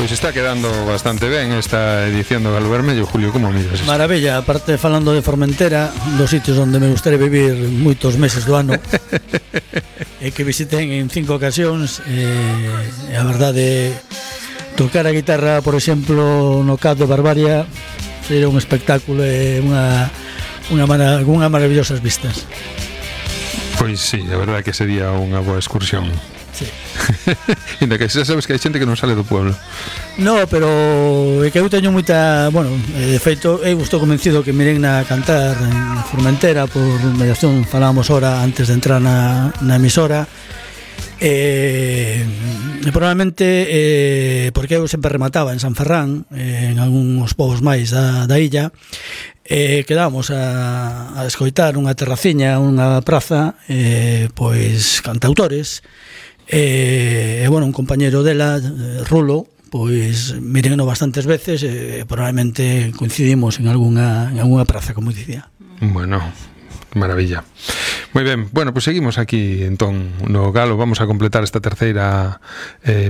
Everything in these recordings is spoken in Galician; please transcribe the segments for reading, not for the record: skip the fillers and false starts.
Pois está quedando bastante ben esta edición do Galo Vermello, Julio, como miras isto? Maravilla, aparte falando de Formentera, dos sitios onde me gustaría vivir moitos meses do ano e que visiten en 5 ocasións, a verdade, tocar a guitarra, por exemplo, no Cap de Barbaria sería un espectáculo e unha maravillosas vistas. Pois sí, a verdade que sería unha boa excursión. Sí. Ainda que xa sabes que hai xente que non sale do pueblo. No, pero é que eu teño moita, bueno, de feito eu estou convencido que miren na cantar en Formentera por mediación, falábamos ahora antes de entrar na emisora, probablemente porque eu sempre remataba en San Ferrán, en algúns povos máis da illa, quedábamos a escoitar unha terraciña, unha praza, pois cantautores, e bueno, un compañeiro dela, Rulo, pois mírenno bastantes veces e probablemente coincidimos en algunha praza, como dicía. Bueno, maravilla. Moi ben, bueno, pois seguimos aquí entón no Galo, vamos a completar esta terceira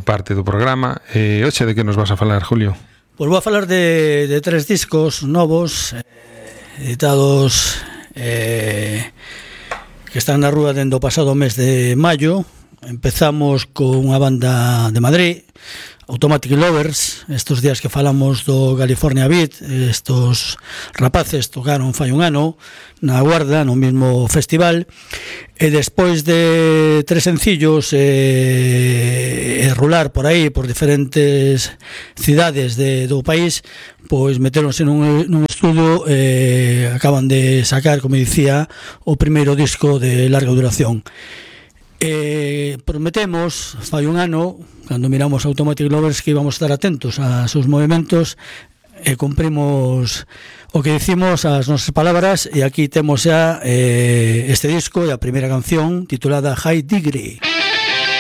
parte do programa. Hoxe de que nos vas a falar, Julio? Pois vou a falar de 3 discos novos editados que están na rúa dende o pasado mes de maio. Empezamos con unha banda de Madrid, Automatic Lovers. Estos días que falamos do California Beat, estos rapaces tocaron fai un ano na Guarda, no mesmo festival, e despois de 3 sencillos e rular por aí, por diferentes cidades do país, pois meteronse nun estudio e acaban de sacar, como dicía, o primeiro disco de larga duración. Prometemos fai un ano, cando miramos Automatic Lovers, que íbamos a estar atentos a seus movimentos e cumprimos o que dicimos, as nosas palabras, e aquí temos xa este disco e a primeira canción titulada High Degree.